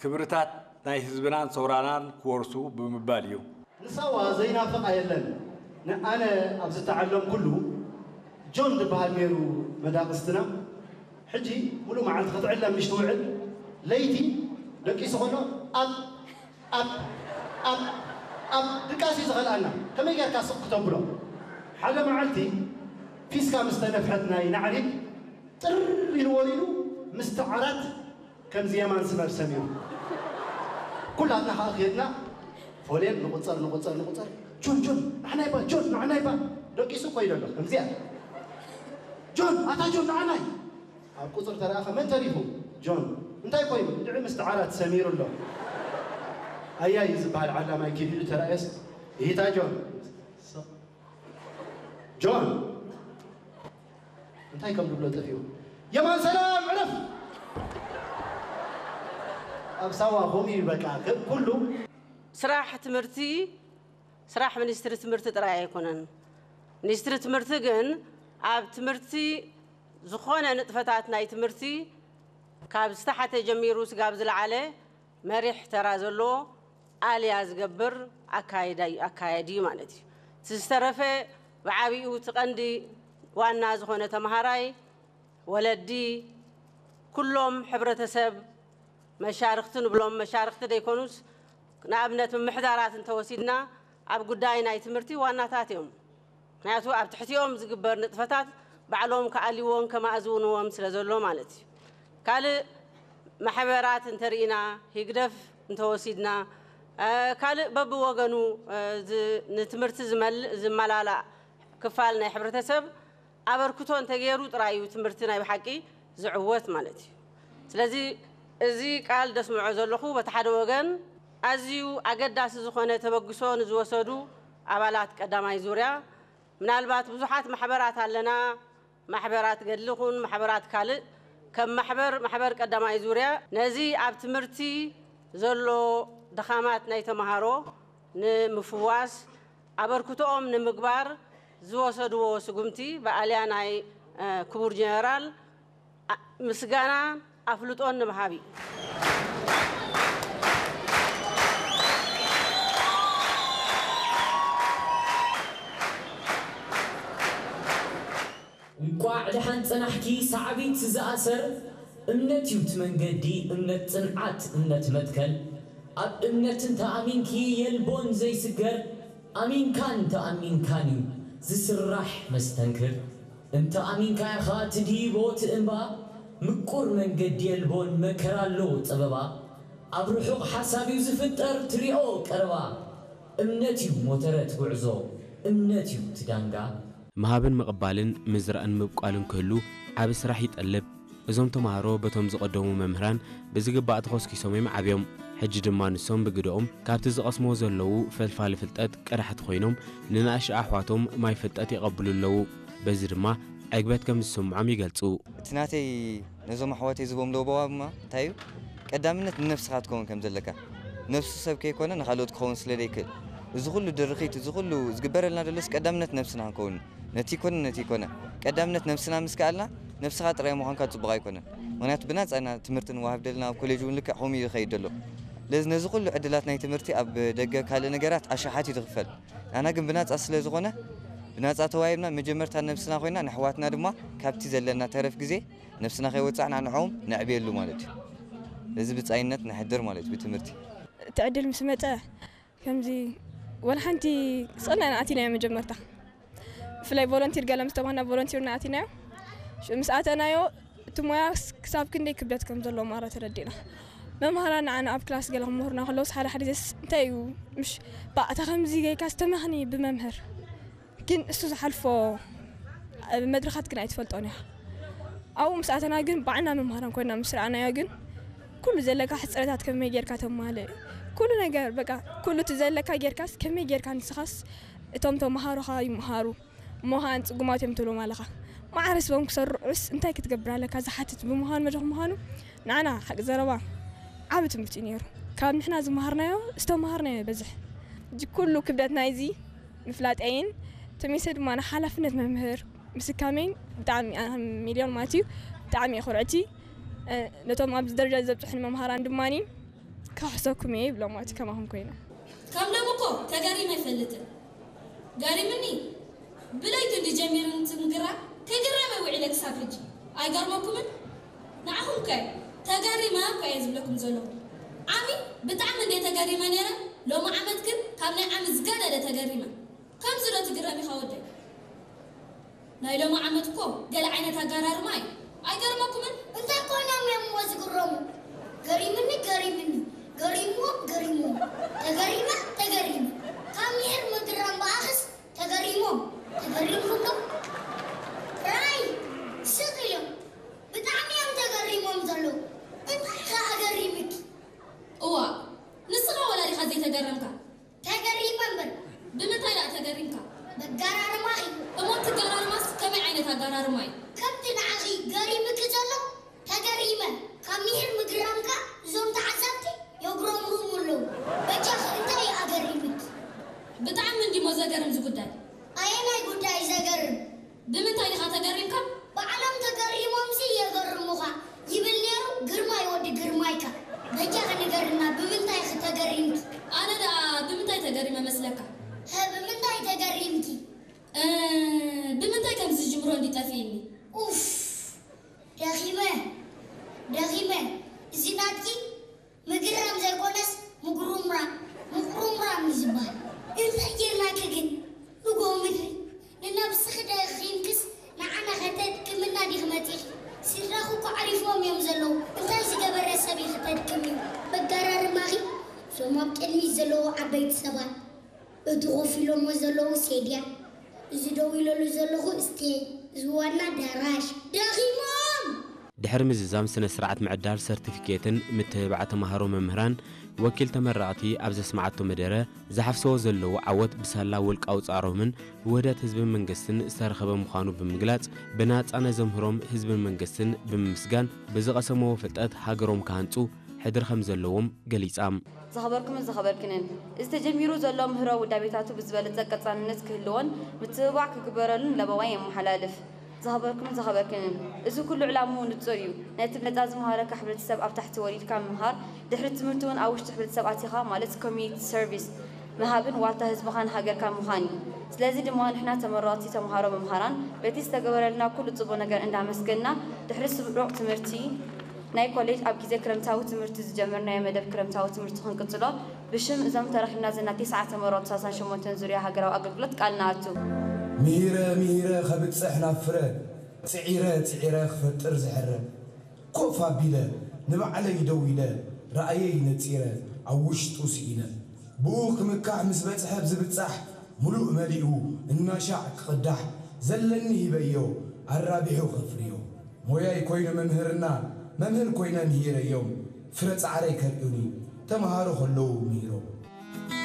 ክብርታት ናይ ህዝብናን ሰውራናን ክወርሱ ብምባል እዩ። ንሳዋ ዘይናፍቓ የለን። ንኣነ ኣብ ዝተዓለምኩሉ ጆን ዝበሃል ነይሩ መዳቕስትና። ሕጂ ሙሉእ መዓልቲ ክትዕለም ምሽ ትውዕል፣ ለይቲ ደቂሱ ከሎ ኣብ ኣብ ኣብ ኣብ ድቃስ እዩ ዝኸልኣና። ከመይ ጌርካ ስቕ ክተብሎ? ሓደ መዓልቲ ፊስካ ምስ ተነፍሐት ናይ ናዕሪግ ጥር ኢሉ ወሪዱ ምስቲ ዓራት ከምዚ የማን ስመር ሰሚሩ። ኩላትና ከዓ ኬድና ፎሌን ንቁፀር ንቁፀር ንቁፀር። ጆን ጆን ንዓናይ ባ ጆን ንዓናይ ባ ደቂሱ ኮይዶ ኣሎ ከምዚኣ። ጆን ኣታ ጆን ንዓናይ ኣብ ቁፅር ተረኣኸ መን ተሪፉ? ጆን እንታይ ኮይኑ? ድዒ ምስቲ ዓራት ሰሚሩ ኣሎ። ኣያይ ዝበሃል ዓላማይ ኪድ ኢሉ ተረኣየስ ይሂታ ጆን ጆን እንታይ ከም ዝብሎ ጠፊኡ። የማን ሰላም ዕረፍ። ኣብ ሳዋ ከምኡ እዩ በቃ ኩሉ። ስራሕ ትምህርቲ ስራሕ ሚኒስትሪ ትምህርቲ ጥራይ ኣይኮነን። ሚኒስትሪ ትምህርቲ ግን ኣብ ትምህርቲ ዝኾነ ንጥፈታት ናይ ትምህርቲ ካብ ዝተሓተ ጀሚሩ ስጋብ ዝለዓለ መሪሕ ተራ ዘለዎ ኣልያ ዝገብር ኣካያዲ እዩ ማለት እዩ። እቲ ዝተረፈ ብዓቢኡ እቲ ቀንዲ ዋና ዝኾነ ተምሃራይ፣ ወለዲ፣ ኩሎም ሕብረተሰብ፣ መሻርኽቲ ንብሎም፣ መሻርኽቲ ደይኮኑስ ንኣብነት ምምሕዳራት እንተወሲድና ኣብ ጉዳይ ናይ ትምህርቲ ዋናታት እዮም። ምክንያቱ ኣብ ትሕቲኦም ዝግበር ንጥፈታት ባዕሎም ክኣልይዎን ከማእዝውንዎም ስለ ዘሎ ማለት እዩ። ካልእ ማሕበራት እንተርኢና፣ ህግደፍ እንተወሲድና፣ ካልእ በብወገኑ ንትምህርቲ ዝመላላእ ክፋል ናይ ሕብረተሰብ ኣበርክቶ እንተገይሩ ጥራይ እዩ ትምህርቲ ናይ ብሓቂ ዝዕወት ማለት እዩ። ስለዚ እዚ ቃል ደስምዖ ዘለኹ በቲ ሓደ ወገን ኣዝዩ ኣገዳሲ ዝኾነ ተበግሶ ንዝወሰዱ ኣባላት ቀዳማይ ዙርያ ምናልባት ብዙሓት ማሕበራት ኣለና፣ ማሕበራት ገድሊ ኹን ማሕበራት ካልእ ከም ማሕበር ማሕበር ቀዳማይ ዙርያ ነዚ ኣብ ትምህርቲ ዘሎ ድኻማት ናይ ተምሃሮ ንምፍዋስ ኣበርክቶኦም ንምግባር ዝወሰድዎ ስጉምቲ ብኣልያ ናይ ክቡር ጀነራል ምስጋናን ኣፍልጦን ንምሃብ እዩ። እንቋዕ ደሓን ጸናሕኪ ሳዕቢት ዝኣሰር እምነት እዩ እቲ መንገዲ እምነት ጽንዓት እምነት መትከል ኣብ እምነት እንተ ኣሚንኪ የልቦን ዘይስገር ኣሚንካን ተኣሚንካን እዩ ዝስራሕ መስተንክር እንተ ኣሚንካ ኢኻ ትድሂቦ እቲ እምባ ምቁር መንገዲ የልቦን መከራ ኣለዎ ጸበባ ኣብ ርሑቕ ሓሳብ እዩ ዝፍጠር ትሪኦ ቀረባ እምነት እዩ ሞተረት ጉዕዞ እምነት እዩ እቲ ዳንጋ። ምሃብን ምቕባልን ምዝራእን ምብቋልን ክህሉ ዓቢ ስራሕ ይጠልብ። እዞም ተማሃሮ በቶም ዝቐደሙ መምህራን ብዝግባእ ተኾስኪሶም እዮም ዓብዮም። ሕጂ ድማ ንሶም ብግደኦም ካብቲ ዝቐስምዎ ዘለዉ ፈልፋሊ ፍልጠት ቀዳሕቲ ኮይኖም ንንኣሽቱ ኣሕዋቶም ማይ ፍልጠት የቐብሉ ኣለዉ። በዚ ድማ ዕግበት ከም ዝስምዖም ይገልጹ። እቲ ናተይ ነዞም ኣሕዋተይ ዝቦም ለበዋ ድማ እንታይ እዩ ቀዳምነት ንነብስኻ ትከውን ከም ዘለካ ነብሱ ሰብ ከይኮነ ንካልኦት ክኸውን ስለ ዘይክእል እዚ ኩሉ ድርኺት እዚ ኩሉ ዝግበረልና ደሎስ ቀዳምነት ነብስና ክንከውን ነቲ ይኮነ ነቲ ይኮነ ቀዳምነት ነብስና ምስ ከኣልና ነብስኻ ጥራይ ምዃንካ ጽቡቕ ኣይኮነን ምክንያቱ ብናጻ ኢና ትምህርቲ ንዋሃብ ደልና ኣብ ኮሌጅ እውን ልክዕ ከምኡ እዩ ዝኸይድ ደሎ ለዚ ነዚ ኩሉ ዕድላት ናይ ትምህርቲ ኣብ ደገ ካልእ ነገራት ኣሽሓት እዩ ዝኽፈል ኣና ግን ብናጻ ስለ ዝኾነ ብናጻ ተዋሂብና መጀመርታ ነብስና ኮይና ንኣሕዋትና ድማ ካብቲ ዘለና ተረፍ ግዜ ነብስና ከይወጻእና ንዕኦም ነዕብየሉ ማለት እዩ። እዚ ብጻይነት ነሕድር ማለት እዩ ብትምህርቲ። እቲ ዕድል ምስ መጸ ከምዚ ወላ ሓንቲ ስቕልና ኢና ኣቲናዮ መጀመርታ። ብፍላይ ቮለንቲር ገለ ምስ ተባህና ቮለንቲር ኢና ኣቲናዮ። ሽዑ ምስ ኣተናዮ እቲ ሞያ ክሳብ ክንደይ ክብደት ከም ዘለዎ ማራ ተረዲእና። መምሃራን ንዓና ኣብ ክላስ ገለ ክምህሩና ከለውስ ሓደ ሓደ ግዜስ እንታይ እዩ ምሽ ባእ እታ ከምዚ ጌርካስ ተመኽኒ ብመምህር ግን እሱ ዝሓልፎ መድረኻት ግን ኣይትፈልጦን ኢኻ ኣብኡ ምስ ኣተና ግን ባዕልና መምሃራን ኮይና ምስ ረኣናዮ ግን ኩሉ ዘለካ ሕፅረታት ከመይ ጌርካ ተማልእ ኩሉ ነገር በቃ ኩሉ እቲ ዘለካ ጌርካስ ከመይ ጌርካ ንስኻስ እቶም ተምሃሮኻ ይምሃሩ እሞ ኸኣ ንጽጉማት እዮም ትብሎም ኣለኻ ማዕረ ስቦም ክሰርዑስ እንታይ ክትገብር ኣለካ ዝሓትት ብምዃኑ መድረኽ ምዃኑ ንዓና ሓቂ ዘረባ ዓቢ ትምህርቲ እዩ ነይሩ ካብ ንሕና ዝመሃርናዮ ዝተማሃርናዮ ይበዝሕ ሕጂ ኩሉ ክብደት ናይዚ ምፍላጠይን ተመይሰ ድማ ንሓላፍነት መምህር ምስካመይን ብጣዕሚ ሚልዮን ማለት እዩ ብጣዕሚ እየ ኩርዕቲ ነቶም ኣብዚ ደረጃ ዘብፅሑን መምሃራን ድማ ክሕሰኩም እየ ይብሎም። እቲ ከማኹም ኮይነ ከም ሎም እኮ ተገሪመ ኣይፈልጥን። ገሪምኒ ብለይቲ እንዲ ጀሚሩ ትምግራ ከይግረመ ውዒለ ክሳብ ሕጂ። ኣይገርመኩምን? ንዓኹም ከ ተገሪመ እኮ እየ ዝብለኩም ዘለኹ። ዓሚ ብጣዕሚ እንደ ተገሪመ ነይረ፣ ሎሚ ዓመት ግን ካብ ናይ ዓሚ ዝገደደ ተገሪመ። ከምዚ ዶ ትግረም ኢኻ ወደይ? ናይ ሎሚ ዓመት እኮ ገለ ዓይነት ኣጋራርማ እዩ። ኣይገርመኩምን? እንታይ ኮይኖም እዮም እሞ ዝግረሙ? ገሪምኒ ገሪምኒ ገሪምዎም ገሪምዎም ተገሪመ ተገሪመ ካብ ምሒር ምግራም ብኣኽስ ተገሪሞም ተገሪምኩም ዶ? ራይ ስቕ ኢሎም ብጣዕሚ እዮም ተገሪሞም ዘለዉ። እንታይ ከ ኣገሪምኪ? እዋ ንስኻ ወላ ዲኻ ዘይተገረምካ? ተገሪመ እምበር። ብምንታይ ደኣ ተገሪምካ? በጋራርማኺ። እሞ እቲ ኣጋራርማስ ከመይ ዓይነት ኣጋራርማ እዩ? ከምቲ ንዓኺ ገሪምኪ ዘሎ ተገሪመ። ካብ ምሒር ምግራምካ እዞም ተዓዘብቲ የጉረምርሙ ኣለዉ። በጃኺ እንታይ እዩ ኣገሪምኪ? ብጣዕሚ እንዲሞ ዘገርም እዚ ጉዳይ። ኣየናይ ጉዳይ እዩ ዘገርም? ብምንታይ ዲኻ ተገሪምካ? ባዕሎም ተገሪሞምሲ የገርሙኻ ይብል ነይሩ ግርማይ ወዲ ግርማይካ። በጃኺ ንገርና ብምንታይ ኢኺ ተገሪምኪ? ኣነ ደኣ ብምንታይ ተገሪመ መስለካ? ሀ ብምንታይ ተገሪምኪ? እ ብምንታይ ከም ዝጅምሮ እንድዩ ጠፊእኒ። ኡፍ ደኺመ ደኺመ እዚ ናትኪ ምግራም ዘይኮነስ ምጉርምራም ምቁርምራም እዩ ዝበሃል። እንታይ ጌርናኪ ግን ንጎ ምድሪ ንነብስኺ ደኺምክስ ንዓና ከተድክምና ዲኺ መፂኺ? ስድራኺ እኮ ዓሪፎም እዮም ዘለዉ እንታይ ዝገበረ ሰብ እዩ ክተድክሚ? በጋራርማኺ እዞም ኣብ ቅድሚት ዘለዉ ዓበይቲ ሰባት እቲ ኮፍ ኢሎሞ ዘለዉ ሴድያ እዚ ደው ኢለሉ ዘለኹ እስቴጅ እዚ ዋና ኣዳራሽ ደኺሞም! ድሕሪ ምዝዛም ስነ ስርዓት ምዕዳል ሰርቲፊኬትን ምትብባዕ ተምሃሮ መምህራን ወኪል ተመረቕቲ ኣብ ዘስምዓቶ መደረ ዝሓፍስዎ ዘለዉ ዓወት ብሳላ ውልቃዊ ፃዕሮምን ውህደት ህዝብን መንግስትን ዝተረኸበ ምዃኑ ብምግላፅ ብናፃ ነዘምህሮም ህዝብን መንግስትን ብምምስጋን ብዝቐሰምዎ ፍልጠት ሃገሮም ክሃንፁ ሕድሪ ከምዘለዎም ገሊፃ። ዝኸበርኩምን ዝኸበርክንን፣ እዚ ተጀሚሩ ዘሎ ምህሮ ውዳቤታቱ ብዝበለጸ ቀጻልነት ክህልዎን ምትብባዕ ክግበረሉን ለበዋይ የመሓላልፍ። ዝኸበርኩምን ዝኸበርክንን፣ እዚ ኩሉ ዕላምኡ ንጹር እዩ። ነቲ ነጻ ዝመሃረካ ሕብረተሰብ ኣብ ታሕቲ ወሪድካ ምምሃር፣ ድሕሪ ትምህርቲ እውን ኣብ ውሽጢ ሕብረተሰብ ኣቲኻ ማለት ኮሚኒቲ ሰርቪስ ምሃብን ዋልታ ህዝብኻን ሃገርካን ምዃን እዩ። ስለዚ ድማ ንሕና ተመረቕቲ ተምሃሮ መምሃራን በቲ ዝተገበረልና ኩሉ ጽቡቕ ነገር እንዳመስገንና ድሕሪ ስሩዕ ትምህርቲ ናይ ኮሌጅ ኣብ ግዜ ክረምታዊ ትምህርቲ ዝጀመርናዮ መደብ ክረምታዊ ትምህርቲ ክንቅጽሎ ብሽም እዞም ተረኺብና ዘለና ቴስዓ ተመረቕቲ ሳሳን ሸሞንተን ዙርያ ሃገራዊ ኣገልግሎት ቃል ንኣቱ። ምሂረ ምሂረ ከብጽሕ ናብ ፍረ ጽዒረ ጽዒረ ክፈጥር ዝሕረ ኮፍ ኣቢለ ንባዕለይ ደው ኢለ ራእየይ ነጺረ ኣብ ውሽጡ ስኢነ ብኡ ክምካሕ ምስ በጽሐ ብዝብጻሕ ምሉእ መሊኡ እናሻዕ ክቕዳሕ ዘለኒ ሂበዮ ኣራቢሑ ከፍርዮ ሞያይ ኮይነ መምህርና መምህር ኮይነ ምሂረዮም ፍረ ጻዕረይ ከርእዩኒ ተምሃሮ ከለዉ ምሂሮም